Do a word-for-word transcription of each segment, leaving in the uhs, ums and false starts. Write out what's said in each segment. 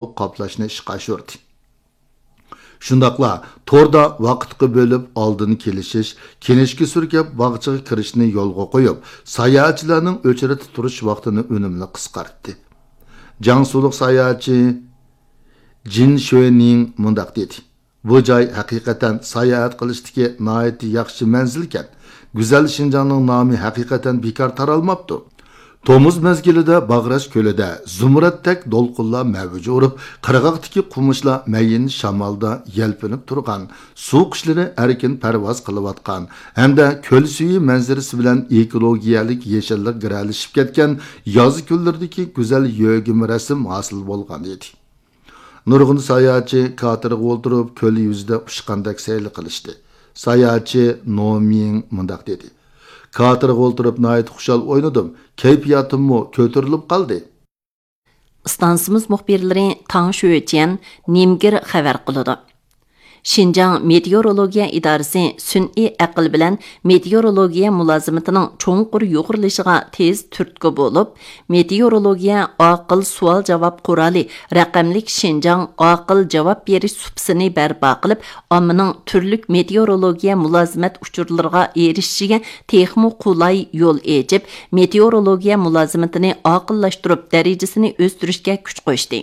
قاپلاشنى ئىشقا ئاشۇردى. شۇنداقلا توردا ۋاقىتقا بۆلۈپ ئالدىن كېلىشىش، كىنىشكا سۈركەپ باغچىغا كىرىشنى يولغا قويۇپ، ساياھەتچىلەرنىڭ ئۆچرەتتە تۇرۇش ۋاقتىنى ئۈنۈملۈك قىسقارتتى. جياڭسۇلۇق ساياھەتچى جىن شۆنىڭ مۇنداق دېدى: «بۇ جاي ھەقىقەتەن ساياھەت قىلىشتىكى ناھايىتى ياخشى مەنزىلكەن. گۈزەل شىنجاڭنىڭ نامى ھەقىقەتەن بىكار تارالماپتۇ.» تومۇز مەزگىلىدە باغراش كۆلىدە زۇمرەتتەك دولقۇنلار مەۋج ئۇرۇپ، قىرغاقتىكى قومۇشلار مەيىن شامالدا يەلپۈنۈپ تۇرغان، سۇ قۇشلىرى ئەركىن پەرۋاز قىلىۋاتقان ھەمدە كۆل سۈيى مەنزىرىسى بىلەن ئېكولوگىيەلىك يېشىللىق گىرەلىشىپ كەتكەن ياز كۈنلىرىدىكى گۈزەل يۆگىمە رەسىم ھاسىل بولغان ئىدى. نۇرغۇن ساياھەتچى كاتېرغا ئولتۇرۇپ، كۆل يۈزىدە ئۇچقاندەك سەيلە قىلىشتى. ساياھەتچى نومىڭ مۇنداق دېدى: «كاتېرغا ئولتۇرۇپ ناھايىتى خۇشال ئوينىدىم، كەيپىياتىممۇ كۆتۈرۈلۈپ قالدى.» ئىستانسىمىز مۇخبىرلىرى تاڭ شۆجيەن، نىمگېر خەۋەر قىلىدۇ. شىنجاڭ مېتېئورولوگىيە ئىدارىسى سۈنئىي ئەقىل بىلەن مېتېئورولوگىيە مۇلازىمىتىنىڭ چوڭقۇر يۇغۇرۇلۇشىغا تېز تۈرتكە بولۇپ، مېتېئورولوگىيە ئاقىل سوئال-جاۋاب قورالى رەقەملىك شىنجاڭ ئاقىل جاۋاب بېرىش سۇپىسىنى بەرپا قىلىپ، ئاممىنىڭ تۈرلۈك مېتېئورولوگىيە مۇلازىمەت ئۇچۇرلىرىغا ئېرىشىشىگە تېخىمۇ قولاي يول ئېچىپ، مېتېئورولوگىيە مۇلازىمىتىنى ئاقىللاشتۇرۇپ، دەرىجىسىنى ئۆستۈرۈشكە كۈچ قوشتى.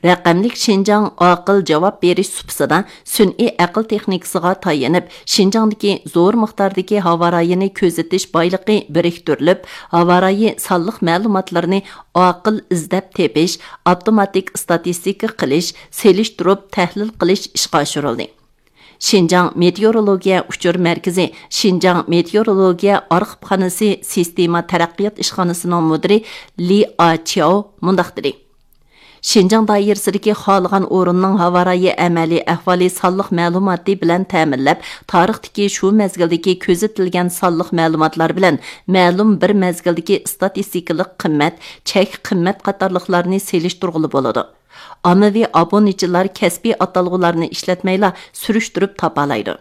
رەقەملىك شىنجاڭ ئاقىل جاۋاب بېرىش سۇپىسىدا سۈنئىي ئەقىل تېخنىكىسىغا تايىنىپ، شىنجاڭدىكى زور مىقداردىكى ھاۋا رايىنى كۆزىتىش بايلىقى بىرىكتۈرۈلۈپ، ھاۋا رايى سانلىق مەلۇماتلىرىنى ئاقىل ئىزدەپ تېپىش، ئاپتوماتىك ئىستاتىستىكا قىلىش، سېلىشتۇرۇپ تەھلىل قىلىش ئىشقا ئاشۇرۇلدى. شىنجاڭ مېتېئورولوگىيە ئۇچۇر مەركىزى شىنجاڭ مېتېئورولوگىيە ئارخىپخانىسى سىستېما تەرەققىيات ئىشخانىسىنىڭ مۇدىرى لى ئاچياۋ مۇنداق دېدى: «شىنجاڭ دائىرىسىدىكى خالىغان ئورۇننىڭ ھاۋا رايى ئەمەلىي ئەھۋالى سانلىق مەلۇماتى بىلەن تەمىنلەپ، تارىختىكى شۇ مەزگىلدىكى كۆزىتىلگەن سانلىق مەلۇماتلار بىلەن مەلۇم بىر مەزگىلدىكى ئىستاتىستىكىلىق قىممەت، چەك قىممەت قاتارلىقلارنى سېلىشتۇرغىلى بولىدۇ.» ئاممىۋى ئابۇنىچىلار كەسپىي ئاتالغۇلارنى ئىشلەتمەيلا سۈرۈشتۈرۈپ تاپالايدۇ.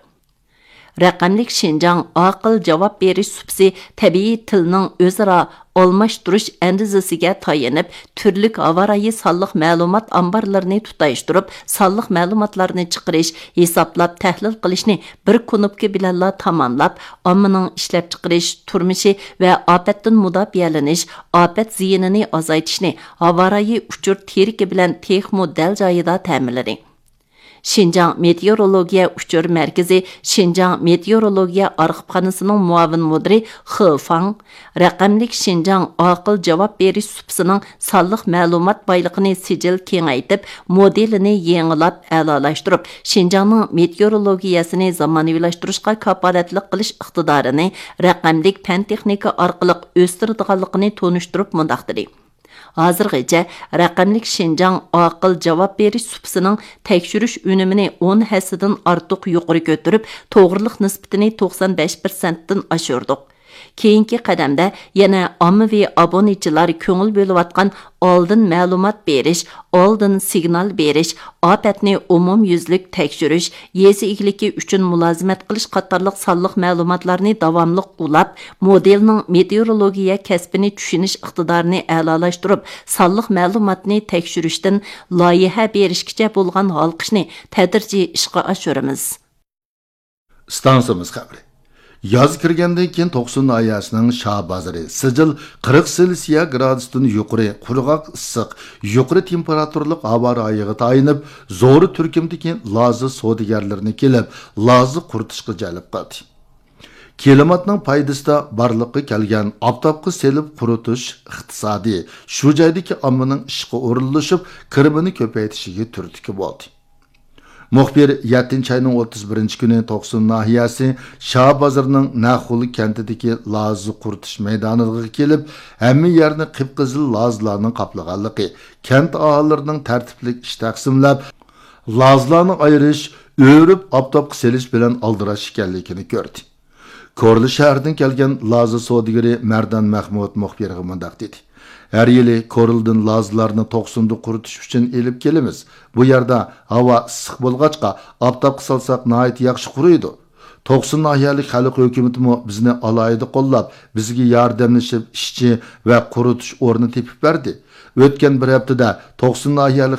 رەقەملىك شىنجاڭ ئاقىل جاۋاب بېرىش سۇپىسى تەبىئىي تىلنىڭ ئۆزئارا ئالماشتۇرۇش ئەندىزىسىگە تايىنىپ، تۈرلۈك ھاۋا رايى سانلىق مەلۇمات ئامبارلىرىنى تۇتاشتۇرۇپ، سانلىق مەلۇماتلارنى چىقىرىش، ھېسابلاپ، تەھلىل قىلىشنى بىر كۇنۇپكا بىلەنلا تاماملاپ، ئاممىنىڭ ئىشلەپچىقىرىش، تۇرمۇشى ۋە ئاپەتتىن مۇداپىئەلىنىش، ئاپەت زىيىنىنى ئازايتىشنى ھاۋا رايى ئۇچۇر تىرىكى بىلەن تېخىمۇ دەل جايىدا تەمىنلىدى. شىنجاڭ مېتېئورولوگىيە ئۇچۇر مەركىزى شىنجاڭ مېتېئورولوگىيە ئارخىپخانىسىنىڭ مۇئاۋىن مۇدىرى خې فاڭ رەقەملىك شىنجاڭ ئاقىل جاۋاب بېرىش سۇپىسىنىڭ سانلىق مەلۇمات بايلىقىنى سىجىل كېڭەيتىپ، مودېلىنى يېڭىلاپ، ئەلالاشتۇرۇپ، شىنجاڭنىڭ مېتېئورولوگىيەسىنى زامانىۋىلاشتۇرۇشقا كاپالەتلىك قىلىش ئىقتىدارىنى رەقەملىك پەن-تېخنىكا ئارقىلىق ئۆستۈرىدىغانلىقىنى تونۇشتۇرۇپ مۇنداق دېدى: «ھازىرغىچە رەقەملىك شىنجاڭ ئاقىل جاۋاب بېرىش سۇپىسىنىڭ تەكشۈرۈش ئۈنۈمىنى ئون ھەسسىدىن ئارتۇق يۇقىرى كۆتۈرۈپ، توغرىلىق نىسبىتىنى توقسان بەش پىرسەنتتىن ئاشۇردۇق. كېيىنكى قەدەمدە يەنە ئاممىۋى ئابۇنىچىلار كۆڭۈل بۆلۈۋاتقان ئالدىن مەلۇمات بېرىش، ئالدىن سىگنال بېرىش، ئاپەتنى ئومۇميۈزلۈك تەكشۈرۈش، يېزا ئىگىلىكى ئۈچۈن مۇلازىمەت قىلىش قاتارلىق سانلىق مەلۇماتلارنى داۋاملىق ئۇلاپ، مودېلنىڭ مېتېئورولوگىيە كەسپىنى چۈشىنىش ئىقتىدارىنى ئەلالاشتۇرۇپ، سانلىق مەلۇماتنى تەكشۈرۈشتىن لايىھە بېرىشكىچە بولغان ھالقىشنى تەدرىجىي ئىشقا ئاشۇرىمىز.» ئىستانسىمىز خەۋىرى. ياز كىرگەندىن كېيىن توقسۇن ناھىيەسىنىڭ شاھ بازىرى سىجىل قىرىق سېلسىيە گرادۇستىن يۇقىرى، قۇرغاق ئىسسىق، يۇقىرى تېمپېراتۇرىلىق ھاۋا رايىغا تايىنىپ، زور تۈركۈمدىكى لازا سودىگەرلىرىنى كېلىپ، لازا قۇرۇتۇشقا جەلپ قىلدى. كىلىماتنىڭ پايدىسىدا بارلىققا كەلگەن ئاپتاپقا سېلىپ قۇرۇتۇش ئىقتىسادى شۇ جايدىكى ئاممىنىڭ ئىشقا ئورۇنلىشىپ، كىرىمىنى كۆپەيتىشىگە تۈرتكە بولدى. مۇخبىر يەتتىنچى ئاينىڭ ئوتتۇز بىرىنچى كۈنى توقسۇن ناھىيەسى شاھ بازىرىنىڭ نەخۇل كەنتىدىكى لازا قۇرۇتۇش مەيدانىغا كېلىپ، ھەممە يەرنى قىپقىزىل لازىلارنىڭ قاپلىغانلىقى، كەنت ئاھالىلىرىنىڭ تەرتىپلىك ئىش تەقسىملەپ، لازىلارنى ئايرىش، ئۆرۈپ ئاپتاپقا سېلىش بىلەن ئالدىراش ئىكەنلىكىنى كۆردى. كورلا شەھىرىدىن كەلگەن لازا سودىگىرى مەردان مەخمۇت مۇخبىرغا مۇنداق دېدى: «ھەر يىلى كورلىدىن لازىلارنى توقسۇندا قۇرۇتۇش ئۈچۈن ئېلىپ كېلىمىز. بۇ يەردە ھاۋا ئىسسىق بولغاچقا، ئاپتاپقا سالساق ناھايىتى ياخشى قۇرۇيدۇ. توقسۇن ناھىيەلىك خەلق ھۆكۈمىتىمۇ بىزنى ئالاھىدە قوللاپ، بىزگە ياردەملىشىپ ئىشچى ۋە قۇرۇتۇش ئورنى تېپىپ بەردى. ئۆتكەن بىر ھەپتىدە توقسان ناھىيەلىك